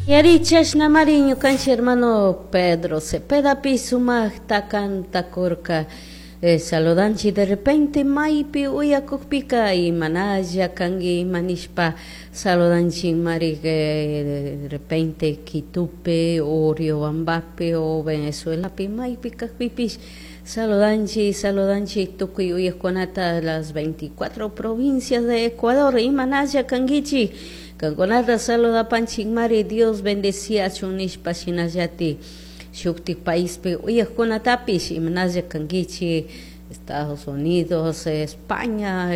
Yari chashnamari ñukanchik hermano Pedro Cepedapi sumaqta kantakurka. Saludanchik de repente maypi uyakukpika imanalla kanki ima nishpa saludanchik mari de repente Quitupi o Riobambapi o Venezuelapi maypi kakpipish saludanchik, saludanchik tukuy uyakkunata las 24 provincias de Ecuador. Imanalla kankichik, kankunata saludapanchik mari, Dios bendeciachun nishpa. Shinallati shuktik paispi uyakkunatapish, imanalla kankichik, Estados Unidos, España,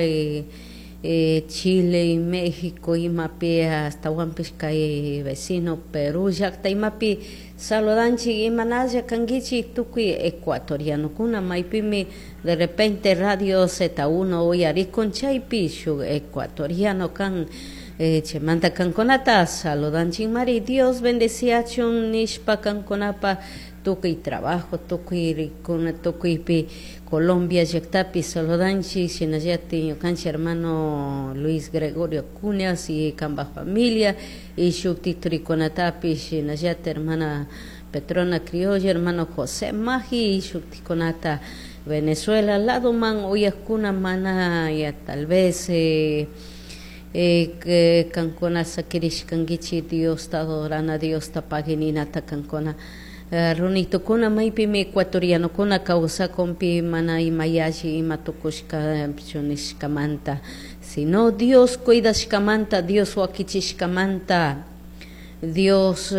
Chile, México imapi, ashtawanpish kay vecino Perú llakta imapi saludanchik. Imanalla kankichik tukuy ecuatorianokuna, maypimi de repente Radio Z1 uyarikun, chaypi shuk ecuatoriano kan, chaymanta kankunata saludanchik mari, Dios bendeciachun nishpa kankunapa tukuy trabajo, tukuy rikuna, tukuypi. Colombia llaktapi saludanchik, shinallatik ñukanchik hermano Luis Gregorio Cuñas y kamba familia y shuktik turikunatapish, shinallatik hermana Petrona Criolla, hermano José Maji y shuktikunata. Venezuela ladoman uyakuna mana ya tal vez kankuna sakirishkankichik Diosta adorana, Diosta pagui ninata. Kankuna runitukuna maypimi ecuatorianokuna kawsakunpi mana ima yalli ima tukushka nishkamanta, sino Dios cuidashkamanta, Dios wakichishkamanta, Dios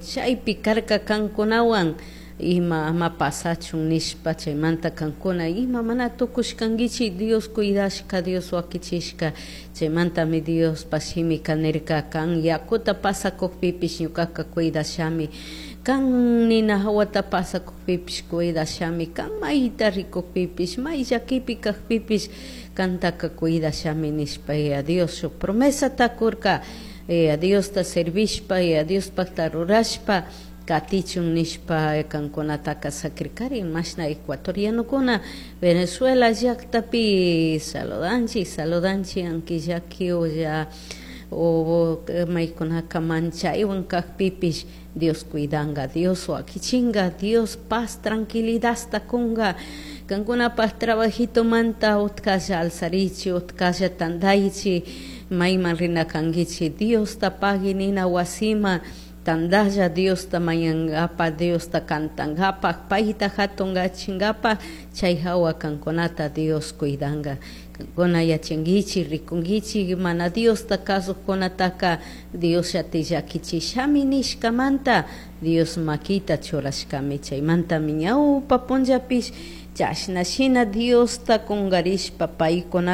chaypi karka kankunawan ima ama pasachun nishpa. Chaymanta kankuna ima mana tukushkankichik, Dios cuidashka, Dios wakichishka. Chaymantami Diospa shimika nirka: kan yakuta pasakukpipish ñukaka cuidashami, kan nina hawata pasakukpipish cuidashami, kan mayta rikukpipish, may llakipi kakpipish kantaka cuidashami nishpa. Yaya Dios shuk promesata kurka, Yaya Diosta servishpa, Yaya Diospakta rurashpa katichun nishpa kankunataka sakirkari. Mashna ecuatorianokuna Venezuela llaktapi saludanchik, saludanchik, aunque llaki o ya o maykunaka manchaywan kakpipish Dios cuidanga, Dios wakichinga, Dios paz, tranquilidadta kunga kankunapak trabajitomanta. Utkalla alzarichi, utkalla tandaychi, mayman rina kankichik Diosta pagui nina wasima tandalla Diosta mañangapa, Diosta cantangapak, payta hatungachingapak. Chay hawa kankunata Dios cuidanga. Kankuna yachankichik, rikunkichik, mana Diosta kasukkunataka Dios llati llakichishami nishkamanta Dios makita churashkami. Chaymantami ñawpa punllapish chashna shina Diosta kungarishpa paykuna